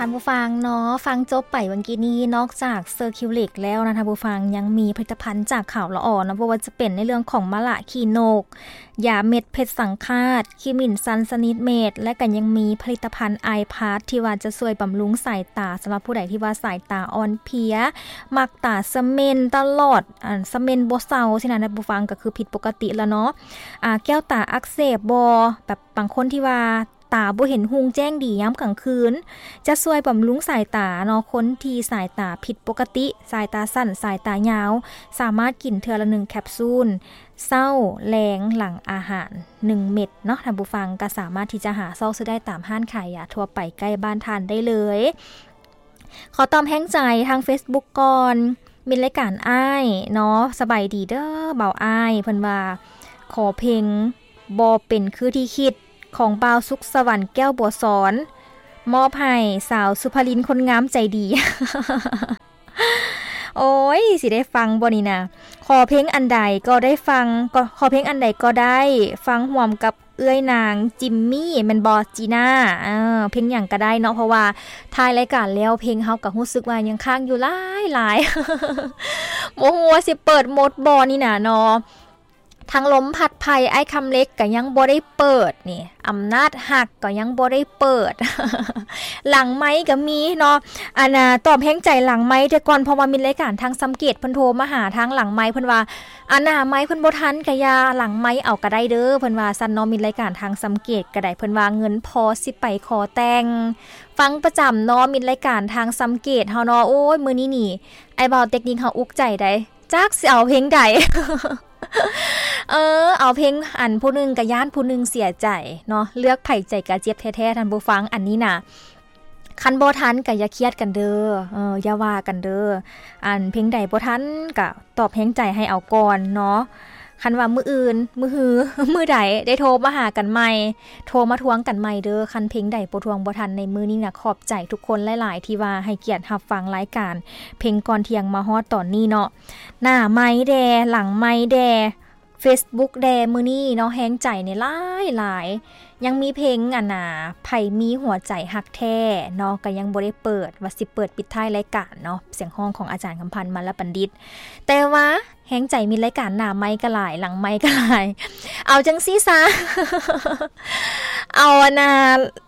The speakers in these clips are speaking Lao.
ທ່ານຜູ້ຟັງເນາະ, ຟັງຈົບໄປເມື່ອກີ້ນີ້ ນອກຈາກເຊີຄິວລິກແລ້ວນະ ທ່ານຜູ້ຟັງ ຍັງມີຜະລິດຕະພັນຈາກຂາວລະອໍເນາະ, ບໍ່ວ່າຈະເປັນໃນເລື່ອງຂອງມະລະຂີ້ນົກ, ຢາເມັດເພັດສັງຂາດ, ຄີມິນຊັນຊະນິດເມັດ ແລະ ກໍຍັງມີຜະລິດຕະພັນໄອພລັສ ທີ່ວ່າຈະຊ່ວຍບຳລຸງສາຍຕາ ສຳລັບຜູ້ໃດທີ່ວ່າສາຍຕາອ່ອນເພຍ, ມັກຕາສະເໝັນຕະຫຼອດ, ອັນ ສະເໝັນບໍ່ເຊົາຊີ້ນະ ທ່ານຜູ້ຟັງ, ກໍຄືຜິດປົກກະຕິລະເນາະ. ອາ ແກ້ວຕາອັກເສບບໍ, ແບບບາງຄົນທີ່ວ່າ ຕາບໍ່ເຫັນຮຸ່ງແຈ້ງດີຍາມກາງຄືນ, ຈະຊ່ວຍບຳລຸງສາຍຕາເນາະ. ຄົນທີ່ສາຍຕາຜິດປົກກະຕິ, ສາຍຕາສັ້ນ, ສາຍຕາຍາວ, ສາມາດກິນເທື່ອລະໜຶ່ງແຄັບຊູນ, ເຊົ້າ, ແລງ, ຫຼັງອາຫານໜຶ່ງເມັດເນາະ. ທ່ານຜູ້ຟັງກໍສາມາດທີ່ຈະຫາຊອກຊື້ໄດ້ຕາມຮ້ານຂາຍຢາທົ່ວໄປໃກ້ບ້ານທ່ານໄດ້ເລີຍ. ຂໍຕອບແຮງໃຈທາງເຟສບຸກກ່ອນ, ມິດລາຍການອ້າຍເນາະ, ສະບາຍດີເດີບ່າວອ້າຍ. ເພິ່ນວ່າ ຂໍເພງບໍ່ເປັນຄືທີ່ຄິດ ຂອງບ່າວສຸກສະຫວັນ ແກ້ວບົວສອນ ມອບໃຫ້ສາວສຸພາລິນຄົນງາມໃຈດີ. ໂອ້ຍ ຊິໄດ້ຟັງບໍ່ນີ້ນະ? ຂໍເພງອັນໃດກໍໄດ້ຟັງ, ກໍ ຂໍເພງອັນໃດກໍໄດ້, ຟັງຮ່ວມກັບເອື້ອຍນາງຈິມມີ້ແມ່ນບໍ່ ຈີນ່າ? ເອີ ເພງຫຍັງກໍໄດ້ເນາະ, ເພາະວ່າທ້າຍລາຍການແລ້ວ ເພງເຮົາກໍຮູ້ສຶກວ່າຍັງຄ້າງຢູ່ຫຼາຍໆ. ບໍ່ຮູ້ວ່າຊິເປີດໝົດບໍ່ນີ້ນະເນາະ. ທັງລົມພັດໄພ ອ້າຍຄຳເລັກກໍຍັງບໍ່ໄດ້ເປີດນີ້, ອຳນາດຮັກກໍຍັງບໍ່ໄດ້ເປີດ, ຫຼັງໄມກໍມີເນາະ. ອັນນ່າ ຕອບແຮງໃຈຫຼັງໄມແຕ່ກ່ອນ, ເພາະວ່າມີລາຍການທາງຊ່ຳເກດເພິ່ນໂທມາຫາທາງຫຼັງໄມ, ເພິ່ນວ່າ ອັນໜ້າໄມເພິ່ນບໍ່ທັນກະຢ່າ, ຫຼັງໄມເອົາກະໄດ້ເດີ ເພິ່ນວ່າຊັ້ນເນາະ. ມິດລາຍການທາງຊ່ຳເກດກໍໄດ້, ເພິ່ນວ່າເງິນພໍຊິໄປຂໍແຕ່ງ. ຟັງປະຈຳເນາະ ມິດລາຍການທາງຊ່ຳເກດເຮົາເນາະ. ໂອ້ຍ ມື້ນີ້ນີ້ ໄອ້ບ່າວເຕັກນິກເຮົາອຸກໃຈໄດ໋ ຈັກຊິເອົາເພງໃດ. ເອີ ເອົາເພງອັນຜູ້ໜຶ່ງກະຢ້ານຜູ້ໜຶ່ງເສຍໃຈເນາະ, ເລືອກໃຜໃຈກະເຈັບແທ້ໆ ທ່ານຜູ້ຟັງ. ອັນນີ້ນະ ຄັນບໍ່ທັນກະຢ່າຄຽດກັນເດີ, ເອີ ຢ່າວ່າກັນເດີ. ອັນເພງໃດບໍ່ທັນກະຕອບແຮງໃຈໃຫ້ເອົາກ່ອນເນາະ. ຄັນວ່າມື້ອື່ນ ມື້ຮື ມື້ໃດໄດ້ໂທມາຫາກັນໃໝ່, ໂທມາທວງກັນໃໝ່ເດີ ຄັນເພງໃດບໍ່ທວງບໍ່ທັນໃນມື້ນີ້ນະ. ຂອບໃຈທຸກຄົນຫຼາຍໆ ທີ່ວ່າໃຫ້ກຽດຮັບຟັງລາຍການເພງກ່ອນທ່ຽງມາຮອດຕອນນີ້ເນາະ. ໜ້າໄມແດ່ ຫຼັງໄມແດ່ ເຟສບຸກແດ່ ມື້ນີ້ເນາະ ແຮງໃຈນີ້ຫຼາຍໆ. ຍັງມີເພງ ອັນນ່າ ໃຜມີຫົວໃຈຮັກແທ້ເນາະ ກໍຍັງບໍ່ໄດ້ເປີດ, ວ່າຊິເປີດປິດທ້າຍລາຍການເນາະ, ສຽງຮ້ອງຂອງອາຈານຄຳພັນ ມະລະບັນດິດ. ແຕ່ວ່າແຮງໃຈມີລາຍການໜ້າໄມກໍຫຼາຍ ຫຼັງໄມກໍຫຼາຍ. ເອົາຈັ່ງຊີ້ຊະ ເອົາ ອັນນ່າ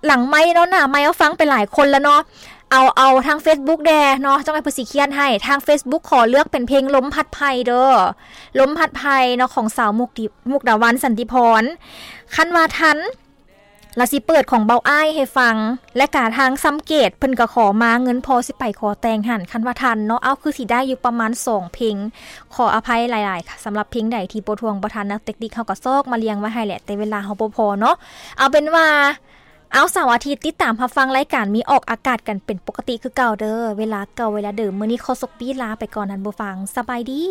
ຫຼັງໄມເນາະ, ໜ້າໄມເຮົາຟັງໄປຫຼາຍຄົນແລ້ວເນາະ. ເອົາ ເອົາທາງເຟສບຸກແດ່ເນາະ, ຈັ່ງໃຫ້ເພິ່ນຊິຄຽນໃຫ້. ທາງເຟສບຸກຂໍເລືອກເປັນເພງລົມພັດໄພເດີ, ລົມພັດໄພເນາະ ຂອງສາວມຸກດິ ມຸກດາວັນ ສັນຕິພອນ. ຄັນວ່າທັນ ລະຊິເປີດຂອງເບົາອ້າຍໃຫ້ຟັງ, ແລະກະທາງຊ່ຳເກດເພິ່ນກະຂໍມາ ເງິນພໍຊິໄປຂໍແຕ່ງຫັ້ນ. ຄັນວ່າທັນເນາະ, ເອົາ ຄືຊິໄດ້ຢູ່ປະມານສອງເພງ. ຂໍອະໄພຫຼາຍໆ ສຳລັບເພງໃດທີ່ບໍ່ທວງບໍ່ທັນນະ, ເຕັກນິກເຮົາກະຊອກມາລຽງໄວ້ໃຫ້ແຫຼະ ແຕ່ເວລາເຮົາບໍ່ພໍເນາະ. ເອົາເປັນວ່າ ເອົາ ເສົາອາທິດຕິດຕາມຮັບຟັງລາຍການ ມີອອກອາກາດກັນເປັນປົກກະຕິຄືເກົ່າເດີ, ເວລາເກົ່າເວລາເດີມ. ມື້ນີ້ຂໍສົກປີ້ລາໄປກ່ອນ ທ່ານຜູ້ຟັງ, ສະບາຍດີ.